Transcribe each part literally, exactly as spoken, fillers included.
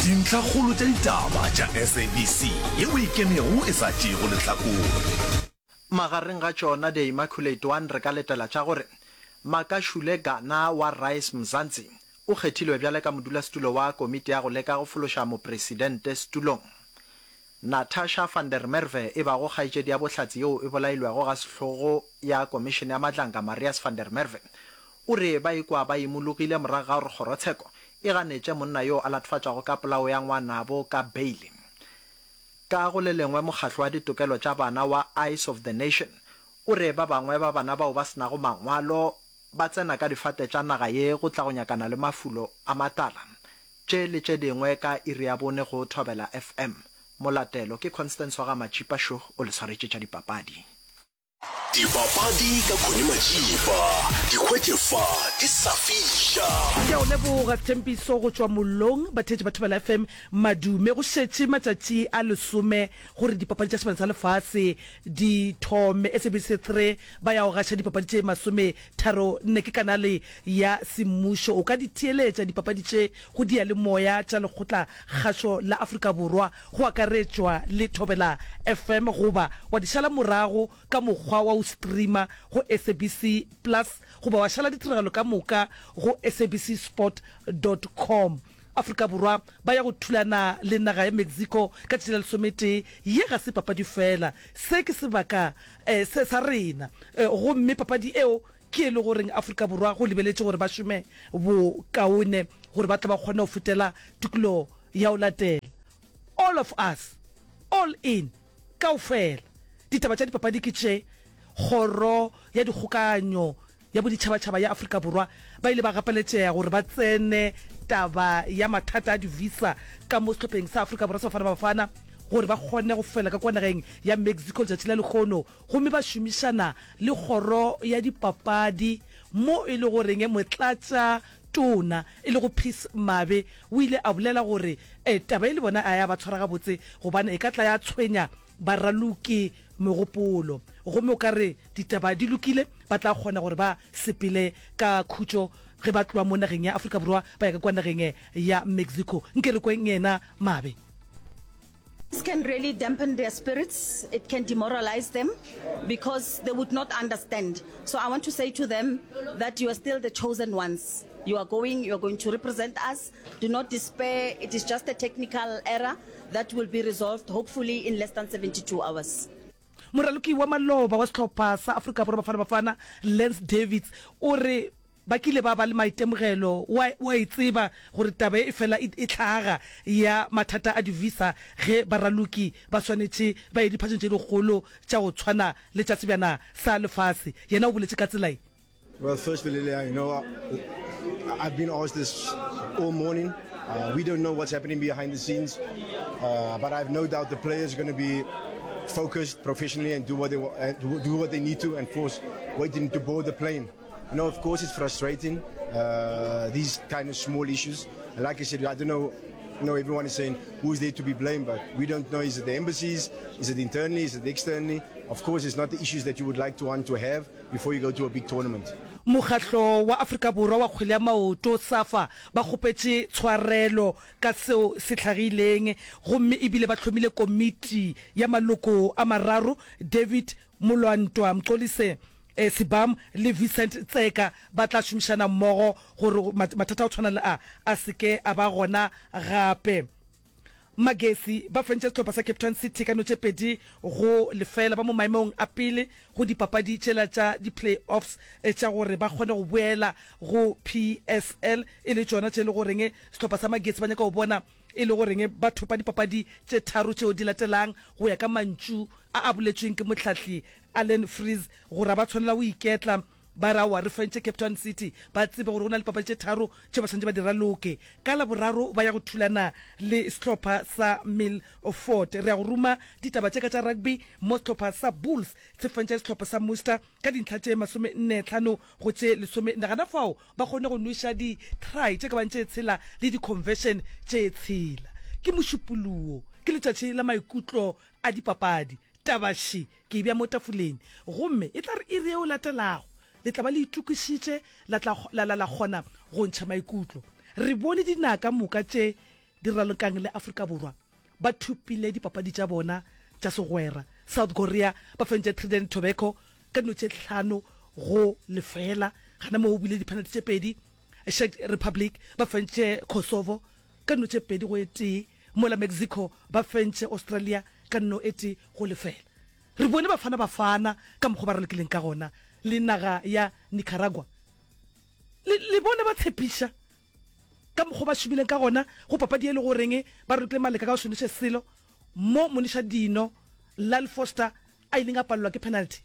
Dintlhakgolo tša ditaba tša S A B C yeo e ikemego e sa tšeego lehlakore. Magareng ga tšona The Immaculate One re ka letela tša gore Makashule Gana wa Rise Mzansi o kgethilwe bjale ka modulasetulo wa komiti ya go leka go fološa mopresidente setulong. Natasha van der Merwe e bago kgaetšedi ya bohlatse yeo e bolailwego ga sehlogo ya Komišene ya Madlanga Marius van der Merwe o re ba ikwa ba imologile morago ga gore kgorotsheko e ganetše monna yo a latofatšwago ka polao ya ngwanabo ka beile. Ka go le lengwe mokgatlo wa ditokelo tša bana wa Eyes of the Nation o re ba bangwe ba bana bao ba se nago mangwalo ba tsena ka difate tša naga ye go tla go nyakana le mafulo a matala. Tše le tše dingwe ka iri ya bone go Thobela F M. Molatelo ke Constance wa ga Matšipa šo o le swaretše tša dipapadi. Dipapadi ka Connie Majiba, di hwetše fa di sa fiša. Ke a o leboga Thempiso go tšwa mollong. Batheetši ba Thobela F M, madume. Go šetše matšatši a lesome gore dipapadi tša Sebana sa Lefase di thome. S A B C three ba ya go gaša dipapadi tše masome tharo nne, ke kanale ya semmušo. O ka di theeletša dipapadi tše go diyalemoya tša Lekgotla Kgašo la Afrika Borwa go akaretšwa le Thobela F M goba wa di šala morago ka mokgwa wa go streama go S A B C Plus goba wa šala ditiragalo ka moka go S A B C sport dot com. Afrika Borwa ba ya go thulana le naga ya Mexico ka tšatši la lesometee. Ye ga se papadi fela, se ke sebaka se sa rena gomme papadi eo ke e le goreng Afrika Borwa go lebeletše gore ba šome bokaone gore ba tle ba kgone go fetela tikologo ya go latela. All of us, all in, kaofela. Ditaba tša dipapadi ke tše, Kgoro ya Dikgokaganyo ya Boditšhabatšhaba ya Afrika Borwa ba ile ba gapeletšega gore ba tsene taba ya mathata a di-visa ka mo sehlopheng sa Afrika Borwa sa Bafana Bafana gore ba kgone go fela ka kwa nageng ya Mexico letšatši la lehono gomme ba šomišana le Kgoro ya Dipapadi mo e le goreng motlatša tona e lego Peace Mabe o ile a bolela gore taba ye le bona a ya ba tshwara gabotse gobane e ka tla ya tshwenya baraloki megopolo gomme o ka re ditaba di lokile ba tla kgona gore ba sepele ka khutšo ge ba tloga mo nageng ya Afrika Borwa ba ya ka kwa nageng ya Mexico. Nke re kweng yena Mabe. This can really dampen their spirits, it can demoralize them because they would not understand. So I want to say to them that you are still the chosen ones. You are going, you are going to represent us. Do not despair, it is just a technical error that will be resolved hopefully in less than seventy-two hours. Moraloki wa maloba wa sehlopha sa Afrika Borwa Bafana Bafana Lance Davids o re ba kile ba ba le maitemogelo, o a o a e tseba gore taba ye e fela e e hlaga ya mathata a di-visa ge baraloki ba swanetše ba ye diphatšeng tše dikgolo tša go tshwana le tša Sebjana sa Lefase. Yena o boletše ka tsela ye. Well, firstly, Lilia, you know, I've been asked this all morning. Uh, we don't know what's happening behind the scenes, uh, but I have no doubt the players are going to be focused professionally and do what they uh, do what they need to, and force waiting to board the plane. You know, of course, it's frustrating, uh, these kind of small issues. And like I said, I don't know. You know, everyone is saying who's there to be blamed, but we don't know. Is it the embassies? Is it internally? Is it externally? Of course, it's not the issues that you would like to want to have before you go to a big tournament. Mokgatlo wa Afrika Borwa wa kgwele ya maoto, SAFA, ba kgopetše tshwarelo ka seo se hlagileng gomme ebile ba hlomile komiti ya maloko a mararo, David Molwantwa, Mxolise Sibam le Vincent Tseka, ba tla šomišana mmogo gore mathata a go tshwana le a a se ke a ba gona gape. Magesi ba fentše sehlopha sa Cape Town City ka no tše pedi go lefela, ba mo maemong a pele go dipapadi tšela tša di-play-offs tša gore ba kgone go boela go P S L, e le tšona tše le goreng sehlopha sa Magesi ba nyaka go bona e le goreng ba thopa dipapadi tše tharo tšeo di latelang go ya ka mantšu a a boletšweng ke mohlahli Allan Freese gore a ba tshwanela go iketla ba re aowa re fentše Cape Town City, ba tsebe gore go na le dipapadi tše tharo tše ba swanetše ba di raloke. Ka Laboraro ba ya go thulana le sehlopha sa Milford. Re ya go ruma ditaba tše ka tša rugby mo sehlopha sa Bulls se fentše sehlopha sa Munster ka dintlha tše masome nne hlano go tše lesome nne. Gana fao ba kgonne go nweša di try tše ka bang tše tshela le di conversion tše tshela. Ke Mošupologo, ke letšatši la maikutlo a dipapadi. Taba še ke e bea mo tafoleng gomme e tla re iri yeo latelago le tla ba le itokišitše la tla la, la, la kgona go ntšha maikutlo. Re bone dinaka moka tše di ralokang le Afrika Borwa ba thopile dipapadi tša bona tša segwera. South Korea ba fentše Trinidad and Tobago ka dino tše hlano go lefeela, gana moo go bile di-penalty tše pedi. Czech Republic ba fentše Kosovo ka dino tše pedi go e tee, mola Mexico ba fentše Australia ka nno e tee go lefeela. Re bone Bafana Bafana ka mokgwa ba ralokileng ka gona le naga ya Nicaragua. Le, le bone ba tshepiša ka mokgwa ba šomileng ka gona go papadi e le goreng ba ralokile maleka ka go se noše selo, mo moniša-dino Lyle Foster a ileng a palelwa ke penalty.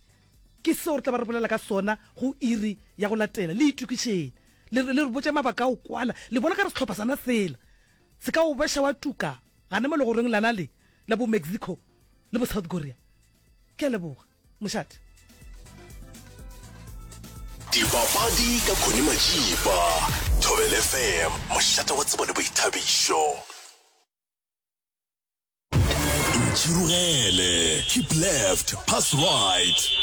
Ke seo re tla ba re bolela ka sona go iri ya go latela. Le itokišeng. Le, le re botše mabaka a go kwala. Le bona ka re sehlopha sana sela se ka o beša wa tuka gana mo legorong lana le la bo Mexico le bo South Korea. Ke a leboga. Mošate. Dipapadi ka Connie Majiba, Thobela F M, mošate wa tsebo le boithabišo. Ntšhirogele, keep left, pass right.